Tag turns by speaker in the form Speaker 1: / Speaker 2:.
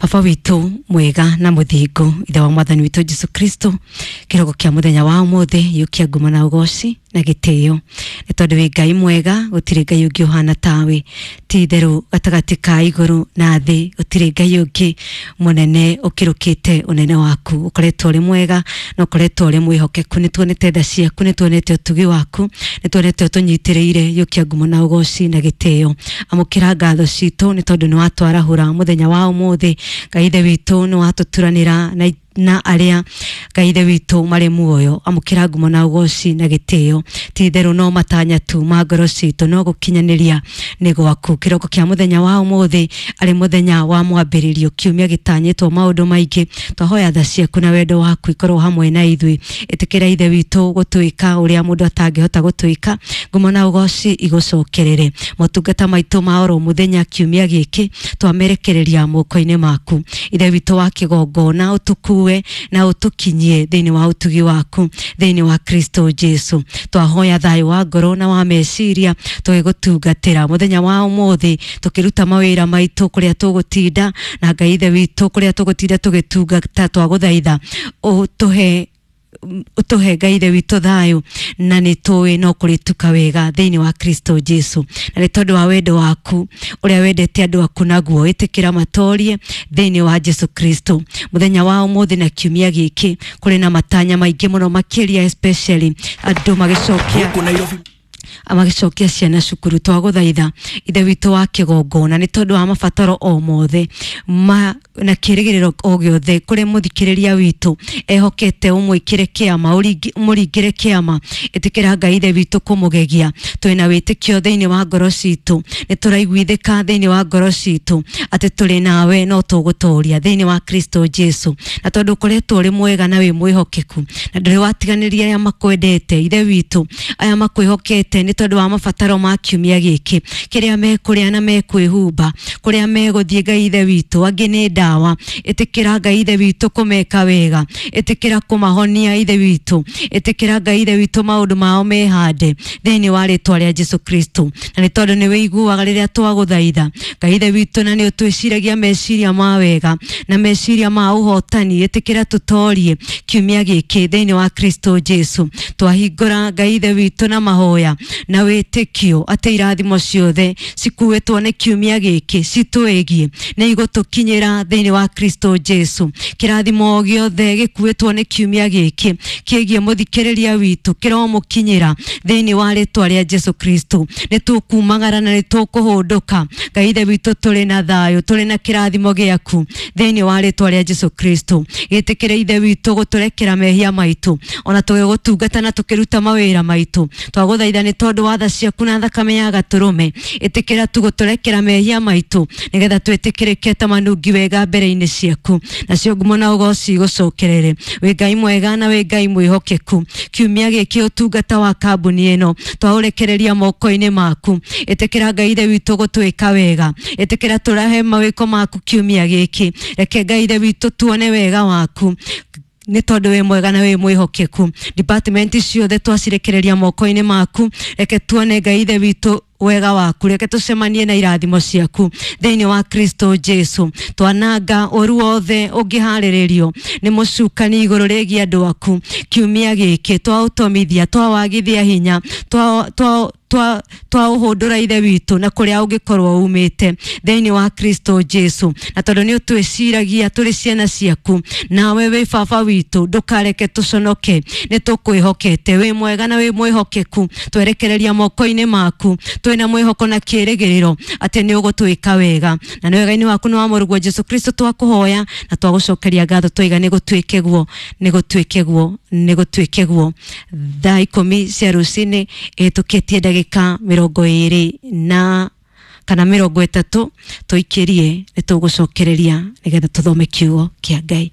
Speaker 1: Baba witũ mwega na mũthingu, ithe wa mwathani witũ Jesu Kristo, kĩroko kĩa mũthenya wa ũmũthĩ yũkia nguma na ũgoci na gĩtĩo, nĩ tondũ wĩ Ngai mwega, gũtirĩ Ngai ũngĩ ũhana tawe. Ti itherũ gatagatĩ ka igũrũ na thĩ gũtirĩ Ngai ũngĩ mũnene ũkĩrũkĩte ũnene waku. Ũkoretwo ũrĩ mwega na ũkoretwo ũrĩ mwĩhokeku. Nĩ tuonete tha ciaku, nĩ tuonete ũtugi waku, nĩ tuonete ũtũnyitĩrĩire. Yũkia ngumo na ũgoci na gĩtĩo. Amũkĩra ngatho citũ nĩ tondũ nĩ watwarahũra mũthenya wa ũmũthĩ. Ngai ithe witũ nĩ watũturanĩra na arĩa Ngai ithe witũ marĩ muoyo. Amũkĩra ngumo na ũgoci na gĩtĩo. Ti itherũ no matanya tu ma ngoro citũ, no gũkinyanĩria nĩ gwaku. Kĩroko kĩa mũthenya wa ũmũthĩ arĩ mũthenya wa mwambĩrĩrio, kiumia gĩtanyĩtwo maũndũ maingĩ. Twahoya tha ciaku na wendo waku ikorwo hamwe na ithuĩ. Ĩtĩkĩra ithe witũ gũtwĩka ũrĩa mũndũ atangĩhota gũtwĩka. Ngumo na ũgoci igũcokerere. Motungata maitũ ma oro mũthenya kiumia gĩkĩ twamerekereria moko-inĩ maku. Ithe witũ wa kĩgongona, ũtũkue na ũtũkinyie thĩinĩ wa ũtugi waku thĩinĩ wa Kristo Jesu. Twahoya thayũ wa ngoro na wa meciria tũgĩgũtungatĩra mũthenya wa ũmũthĩ, tũkĩruta mawĩra maitũ kũrĩa tũgũtinda, na Ngai ithe witũ kũrĩa tũgũtinda tũgĩtungata. Twagũthaitha ũtũhe Ngai ithe witũ thayũ, na nĩ tũĩ no kũrĩtuka wega thĩinĩ wa Kristo Jesu. Na nĩ tondũ wa wendo waku ũrĩa wendete andũ aku naguo, ĩtĩkĩra matorie thĩinĩ wa Jesu Kristo. Mũthenya wa ũmũthĩ na kiumia gĩkĩ kũrĩ na matanya maingĩ mũno makĩria, especially andũ magĩcokia
Speaker 2: Gũkũ Nairobi
Speaker 1: magĩcokia ciana cukuru. Twagũthaitha ithe witũ wa kĩgongona, nĩ tondũ wa mabataro o mothe ma na kĩrĩgĩrĩro o gĩothe kũrĩ mũthikĩrĩria witũ ehokete, ũmwĩkĩre kĩama, ũmũringĩre kĩama. Ĩtĩkĩra Ngai ithe witũ kũmũgegia. Twĩna wĩtĩkio thĩinĩ wa ngoro citũ, nĩ tũraiguithĩka thĩinĩ wa ngoro citũ atĩ tũrĩ nawe no tũgũtoria thĩinĩ wa Kristo Jesu. Na tondũ ũkoretwo ũrĩ mwega na wĩ mwĩhokeku na ndũrĩ watiganĩria arĩa makwendete, ithe witũ, aya makwĩhokete nĩ tondũ wa mabataro ma kiumia gĩkĩ, kĩrĩa mekũrĩa na mekwĩhumba, kũrĩa megũthiĩ, Ngai ithe witũ, angĩ nĩ ndawa. Ĩtĩkĩra Ngai ithe witũ kũmeka wega, ĩtĩkĩra kũmahonia ithe witũ, ĩtĩkĩra Ngai ithe witũ maũndũ mao mehande thĩinĩ wa rĩtwa rĩa Jesu Kristo. Na nĩ tondũ nĩ wĩiguaga rĩrĩa twagũthaitha, Ngai ithe witũ, na nĩ ũtwĩciragia meciria ma wega na meciria ma ũhotani, ĩtĩkĩra tũtorie kiumia gĩkĩ thĩinĩ wa Kristo Jesu. Twahingũra Ngai ithe witũ na mahoya na wĩtĩkio atĩ irathimo ciothe cikuĩtwo nĩ kiumia gĩkĩ citwĩgiĩ nĩ igũtũkinyĩra thĩinĩ wa Kristo Jesu. Kĩrathimo o gĩothe gĩkuĩtwo nĩ kiumia gĩkĩ kĩgiĩ mũthikĩrĩria witũ kĩromũkinyĩra thĩinĩ wa rĩtwa rĩa Jesu Kristo. Nĩ tũkumagara na nĩ tũkũhũndũka, Ngai ithe witũ, tũrĩ na thayũ, tũrĩ na kĩrathimo gĩaku thĩinĩ wa rĩtwa rĩa Jesu Kristo. Gĩtĩkĩre ithe witũ gũtũrekera mehia maitũ ona tũgĩgũtungata na tũkĩruta mawĩra maitũ. Twagũthaitha nĩ tondũ wa tha ciaku na thakame ya gatũrũme, ĩtĩkĩra tu gũtũrekera mehia maitũ nĩgetha twĩtĩkĩrĩke ta manungi wega mbere-inĩ ciaku, nacio ngumo na ũgoci igũcokerere. Wĩ Ngai mwega na wĩ Ngai mwĩhokeku. Kiumia gĩkĩ ũtungata wa kambuni ĩno twaũrekereria moko-inĩ maku. Ĩtĩkĩra Ngai ithe witũ gũtwĩka wega, ĩtĩkĩra tũrahe mawĩko maku kiumia gĩkĩ. Reke Ngai ithe witũ tuone wega waku nĩ tondũ wĩ mwega na wĩ mwĩhokeku. Department ciothe twacirekereria moko-inĩ maku. Reke tuone Ngai ithe witũ wega waku, reke tũcemanie na irathimo ciaku thĩinĩ wa Kristo Jesu. Twananga ũru wothe ũngĩharĩrĩrio nĩ mũcukani igũrũ rĩgiĩ andũ aku kiumia gĩkĩ. Twaũtomithia, twawagithia hinya, twa twa twa twaũhũndũra ithe witũ na kũrĩa ũngĩkorwo umĩte thĩinĩ wa Kristo Jesu. Na tondũ nĩ ũtwĩciragia tũrĩ ciana ciaku, nawe wĩ baba witũ, ndũkareke tũconoke. Nĩ tũkwĩhokete, wĩ mwega na wĩ mwĩhokeku. Twerekereria moko-inĩ maku twĩna mwĩhoko na kĩrĩgĩrĩro atĩ nĩ ũgũtwĩka wega, na nĩ wega-inĩ waku nĩ wa mũrũguo Jesu Kristo twakũhoya na twagũcokeria ngatho, twaiga nĩ gũtuĩke guo, nĩ gũtuĩke guo, nĩ gũtuĩke guo. Thaa 10 cia rũcinĩ ĩhĩtũkĩtie ndagĩka 20 na kana 30, tũikĩrie nĩ tũgũcokereria nĩgetha tũthome kiugo kĩa Ngai.